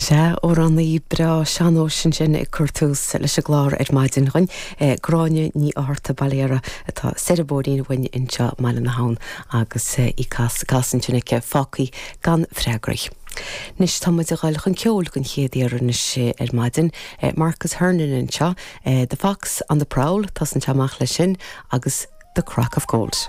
Sea, amhránaí breá sean-nóis ansin ag cur tús leis an gclár ar maidin dhúinn, Gráinne Ní Fhátharta, Baile Dheara, atá soir an bóithrín uainn anseo i mBaile na hAbhann agus í ag casadh ansin aici, Fágthaí gan Freagraí. Anois tá muid ag dul chun ceoil den chéad iarraidh anois ar maidin. Marcus Hernon anseo, The Fox on the Prowl, tosaíonn sé amach leis sin agus The Crock of Gold.